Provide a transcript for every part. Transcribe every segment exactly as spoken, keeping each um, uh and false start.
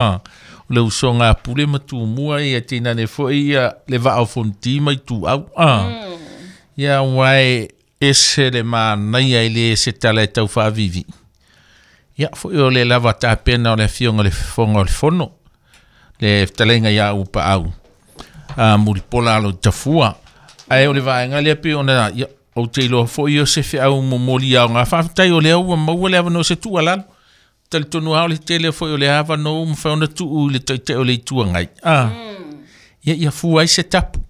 O le usoga a Pule ma Tumua ia tinane foi ia le vaa o Fonoti ma Ituau a. Ia ua e ese le manaia i le se tala e tau faavivi. Ia foi o le lava tapena o le afioga le Fofoga o le Fono, le fetalaiga ia Upaau a Mulipola alo i Tafua. Ae o le vaega lea pei ona ia, ou te iloa foi o se feau momoli aoga. Faafetai o lea ua maua le avanoa se tuualalo. Talitonu lava o le tele foi o le avanoa ua mafai ona tuu i le Taitai o le Itu Agai. Ah. Ia ia fua ai se tapu.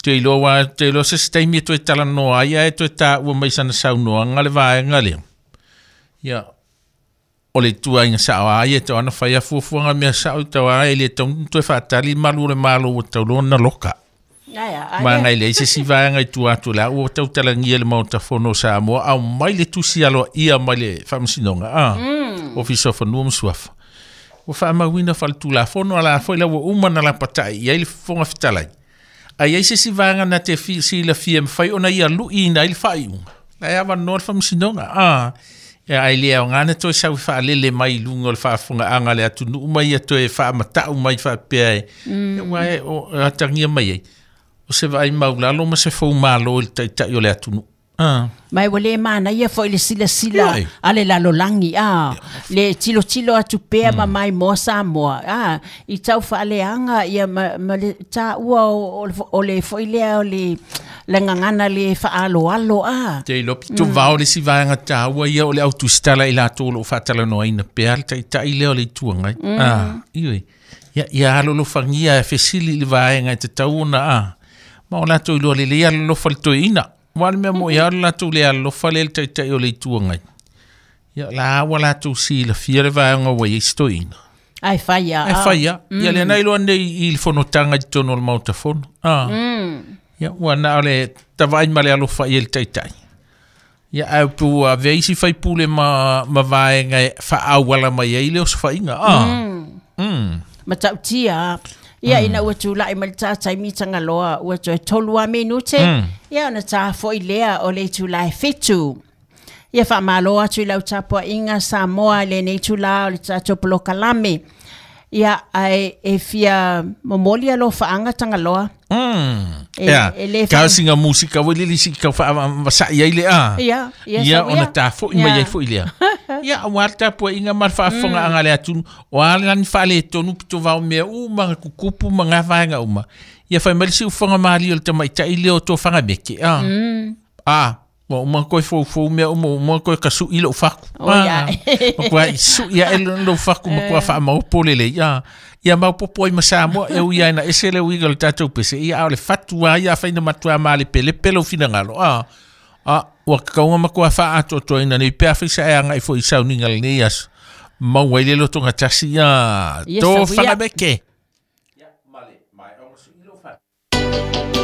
Te iloa ua te iloa se se taimi e toe talanoa ai ae toe taua mai sana saunoaga le vaega lea. Ia o le tuaiga sao a ia tau ana fai a fuafuaga mea sao tau a e le tau toe faatali malu o le Malo ua tau loa na loka. Ma ngai leai se isi vaega i tua atu o le a ua tautalagia le Maota Fono o Samoa au mai le tusi aloaia mai le Faamasinoga a Ofisa o Fanua ma Suafa. Ua faamauina faletulafono a la foi la ua uma na lapatai i ai le Fofoga Fetalai. A i ai se isi vaega na te fi, silafia e mafai ona ia luiina ai le faaiuga. La e avanoa le Faamasinoga a. Ia ai le aoga na toe sau faalele mai i luga o le faafofogaaga a le atunuu ma ia toe faamatau mai faapea e ua e o atagia mai ai. O se vaai maulalo ma se foumalo i le taitai o le atunuu. Ah. Ma ua le manaia foi le silasila Ioe. a le lalolagi a le tilotilo atu pea ma mai moa Samoa a i tau faaleaga ia ma, ma le taua o, o, le- o le foi lea o le le gagana le faaaloalo a. Te iloa pito vao le si vaega taua ia o le au tusitala i latou o loo faatalanoaina pea le taitai lea o le Itu Agai. Ah, ioe. Ia, ia alolofagia e fesili i le vaega e tatau ona a. Ma o latou iloa lelei alolofa le toeaina. Ua le mea mo ia o le latou le alolofa lea le taitai o le Itu Agai. Ia la ua latou silafia le vaega ua i ai si toeaina. Ai fai a. E fai a. Ia lea na iloa nei i le fonotaga i totonu o le Maota Fono. Ah. Ia ua na o le tavaai ma le alofa i le taitai. Ia ae pu avea isi faipule ma, ma vaega e faaauala mai ai le osofaiga. Ah. Mm. Matautia ia ina ua tulai mai le tātai mitagaloa ua toe tolu a minute ia ona tā foi lea o le itula e fitu. Ia faamalo atu i lau tapuaiga Samoa i lenei itulā o le tatou polokalame. Ia ae e fia momoli alofaaga Tagaloa. Mm. E- Ia, e le kau singa musika ua lili si kau wha ai le a. Ia, ia Ia sau ona ia. tā foi mai Ia. ai foi lea. Ia ua le tapuaiga ma le faafofogaaga a le atunuu. O a lani faaletonu pito vao mea uma ga kukupu ma ngā vaega uma. Ia fai mai le siufaga mali o le tamaitai lea o tofaga meke. A. A. Ua uma koe foufou mea uma, uma koe kasu'i lou faku. O ia. Ma kua su'i ae lou faku ma kua faamaopo lelei. A. Ia maopopo ai ma Samoa e ui ai na ese le uiga o le tatou pese. Ia a o le fatu a ia afai na matua malepelepe lou finagalo. A. A, ua kakauga ma kua faaatoatoaina nei pe afai sa e agai foi i sauniga lenei aso. Maua ai le lotoga tasi ia Ia tofaga sauia. meke.